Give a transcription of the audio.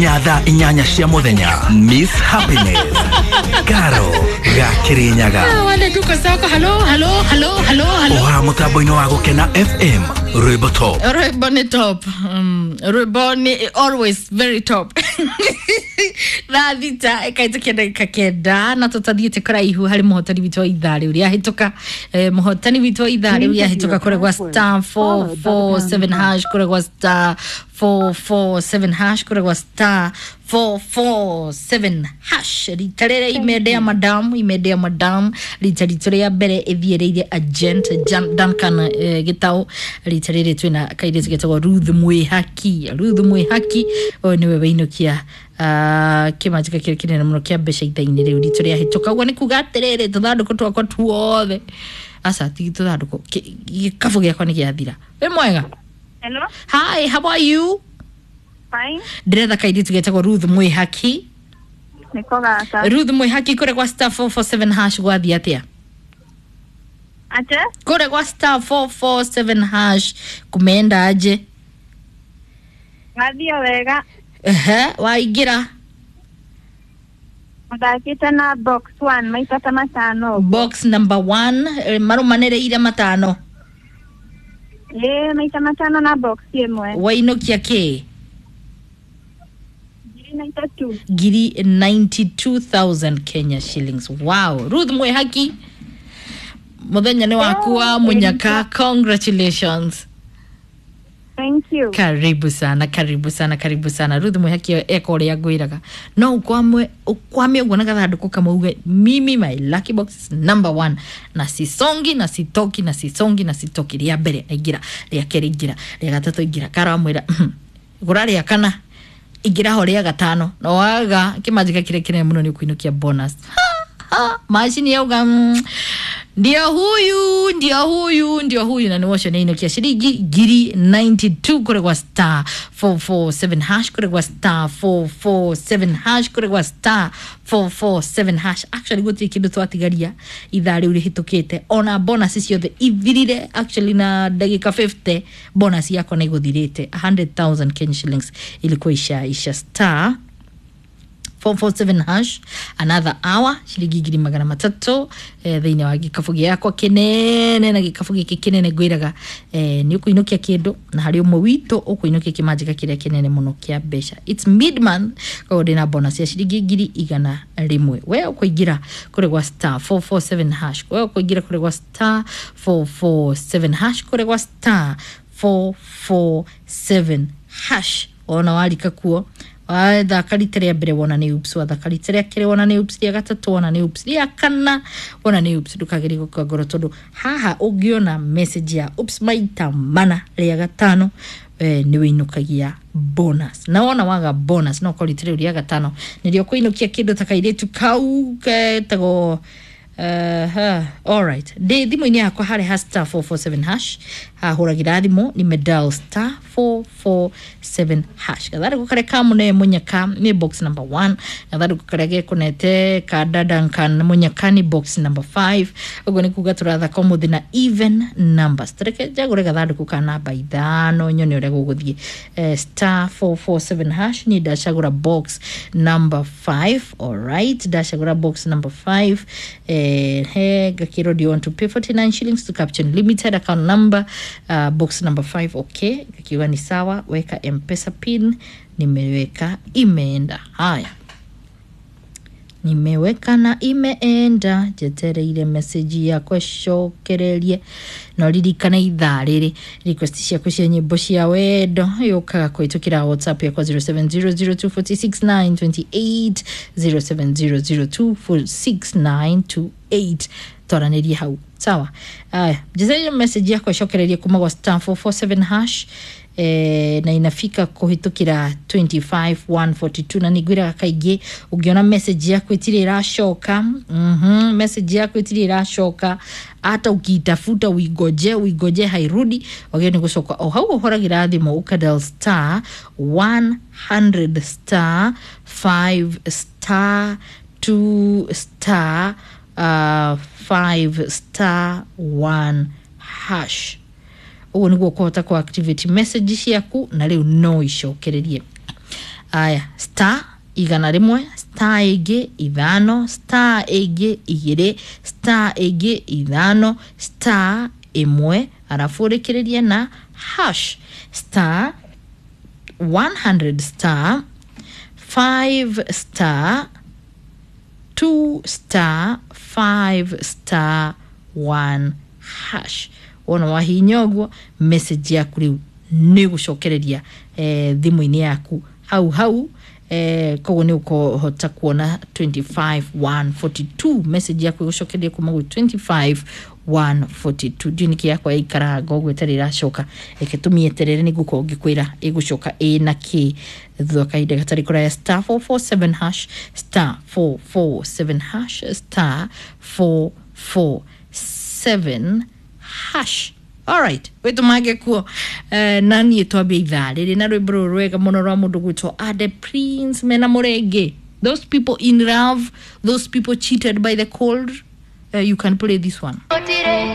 Thaa 8 cia muthenya, Miss Happiness Karo Gakirinyaga. Wale tuko soko. Halo, halo, halo, halo, halo. Oha mutambo-inĩ wa Gukena FM, rwimbo top. Rwimbo ni top. Rwimbo ni always very top. Thaa 6 ĩkaitũkia ndagĩka 9 na tũtathiĩte kũraihu harĩ mũhotani witũ wa ithaa rĩu rĩahĩtũka. Mũhotani witũ wa ithaa rĩu rĩahĩtũka kũrĩa gwa star 447 hash, kũrĩa gwa star 447 hash, kũrĩa gwa star 447 hash. Rita rĩrĩa imende ya madam, imende ya madam, rita ritũ rĩa mbere ĩthiĩrĩire agent Duncan Gĩtaũ. Rita rĩrĩ twĩna kairĩtu getagwo Ruth Mwĩhaki. Ruth Mwĩhaki ũyũ nĩwe wĩinũkia kĩmanjĩka kĩrĩa kĩnene mũno kĩa mbeca ithaa-inĩ rĩu ritũ rĩahĩtũka. Ũguo nĩ kuga atĩrĩrĩ, tũthandũkũ twakwa tuothe, aca ti tũthandũkũ, gĩkabũ gĩakwa nĩ gĩathira. Wĩ mwega? Hello. Hi, how are you? Fine. Ndĩretha kairĩtu getagwo Ruth Mwĩhaki. Niko gaka. Ruth Mwĩhaki, kũrĩa gwa star 447 hash gwathiĩ atĩa? Ate? Kũrĩa gwa star 447 hash kumeenda aje? Ngathiĩ wega. Ehe, waingĩra? Mũthakĩte na box one maita ta 5. Box number 1, marũmanĩrĩire 5. Ĩĩ, maita 5 na box 1. Wainũkia kĩ? 92. Ngiri 92,000 Kenya shillings. Wow. Ruth Mwĩhaki, mũthenya nĩ waku wa mũnyaka. Congratulations. Thank you. Karibu sana, karibu sana, karibu sana. Ruth Mwĩhaki eka ũrĩa ngwĩraga, no ũkwame ũkwame ũguo na gathandũkũ kamwe uge, "Mimi my lucky box is number one na sisongi na sitoki na sisongi na sitoki." Rĩa mbere aingĩra, rĩa kerĩ ingĩra, rĩa gatatũ ingĩra. Karo amwĩra, "Gũra rĩa kana, ingĩra ho rĩa gatano." Na waga kĩmanjĩka kĩrĩa kĩnene mũno nĩ ũkũinũkia bonus. Macini yauga, "Ndio huyu, ndio huyu, ndio huyu." Na nĩwocio nĩainũkia ciringi ngiri 92 kũrĩ gwa star 447 hash, kũrĩ gwa star 447 hash, kũrĩ gwa star 447 hash. Actually gũtirĩ kĩndũ twatigaria ithaa rĩu rĩhĩtũkĩte, ona bonus ciothe ithirire actually na ndagĩka 50. Bonus yakwa nĩ ĩgũthirĩte, 100,000 Kenya shillings ilikuwa isha. Star 447 hash, another hour, ciringi 300,000 thĩinĩ wa gĩkabũ gĩakwa kĩnene. Na gĩkabũ gĩkĩ kĩnene ngwĩraga, nĩ ũkũinũkia kĩndũ, na harĩ ũmwe witũ ũkũinũkia kĩmanjĩka kĩrĩa kĩnene mũno kĩa mbeca. It's mid month, koguo ndĩna bonus ya ciringi 100,000. We ũkũingĩra kũrĩ gwa star 447 hash, we ũkũingĩra kũrĩ gwa star 447 hash, kũrĩ gwa star 447 hash. Wona warika kuo, wathaka rita rĩa mbere wona nĩ ups, wathaka rita rĩa kerĩ wona nĩ ups, rĩa gatatũ wona nĩ ups, rĩa kana wona nĩ ups, ndũkagerie gũkua ngoro, tondũ haha ũngĩona message ya ups maita 4, rĩa gatano nĩ wĩinũkagia bonus. Na wona waga bonus, no korwo rita rĩu rĩa gatano nĩrĩo kũinũkia kĩndũ ta kairĩtu kau ketagwo. Alright, ndĩ thimũ-inĩ yakwa harĩ ha star 447 hash, hahũragĩra thimũ nĩ medal star 447 hash. Gathandũkũ karĩa kamũne mũnyaka nĩ box number 1, gathandũkũ karĩa gekũnete ka Duncan mũnyaka nĩ box number 5. Ũguo nĩ kuga tũrathaka ũmũthĩ na even numbers. Tareke njagũre gathandũkũ ka namba 5 nyone ũrĩa gũgũthiĩ. Star 447 hash, niĩ ndacagũra box number 5. Alright, ndacagũra box number 5. He ngakĩrwo, "Do you want to pay 49 shillings to capture limited account number, box number 5?" Okay, ngakiuga ni sawa. Weka M-Pesa pin, nimeweka, imeenda. Haya, nimeweka na imeenda, njetereire message yakwa ĩcokererie. No ririkana ithaa rĩrĩ, request ciaku cia nyĩmbo cia wendo yũkaga kũhĩtũkĩra WhatsApp yakwa 0700246928, 0700246928. Twaranĩrie hau, sawa? Aya, njetereire message yakwa ĩcokererie kuma gwa star 447 hash, na inafika kuhitukira 25142. Na ningwiraga kaingĩ, ũngĩona message yaku ĩtirĩ ĩracoka, message yaku ĩtirĩ ĩracoka, hata ukiitafuta, uigoje uigoje, hairudi, wagĩrĩirwo nĩ gũcoka o hau ũhũragĩra thimũ, ũkadial star 100 star 5 star 2 star 5 star 1 hash. Ũguo nĩguo ũkũhota ku activate message ciaku na rĩu no icokererie. Aya, star 100, star ĩngĩ 5, star ĩngĩ 2, star ĩngĩ 5, star 1, arabu ũrĩkĩrĩrie na hash. Star 100 star 5 star 2 star 5 star 1 hash. Wona wahinya ũguo, message yaku rĩu nĩ gũcokereria thimũ-inĩ yaku hau hau. Koguo nĩ ũkũhota kuona 25142, message yaku ĩgũcokereria kuma gwĩ 25142. Ndiũ nĩkĩ yakwa yaikaraga ũguo ĩtarĩ ĩracoka, reke tũmĩeterere nĩ ngũkorwo ngĩkwĩra ĩgũcoka ĩ na kĩ thutha wa kahinda gatarĩ kũraya. Star 447 hash, star 447 hash, star 447 hash. Alright, wĩtũmange kuo. Na niĩ twambia ithaa rĩrĩ na rwĩmbo rũrũ rwega mũno rwa mũndũ gwĩtwo Ade Prince mena Mũrenge. Those people in love, those people cheated by the cold, you can play this one. Otire.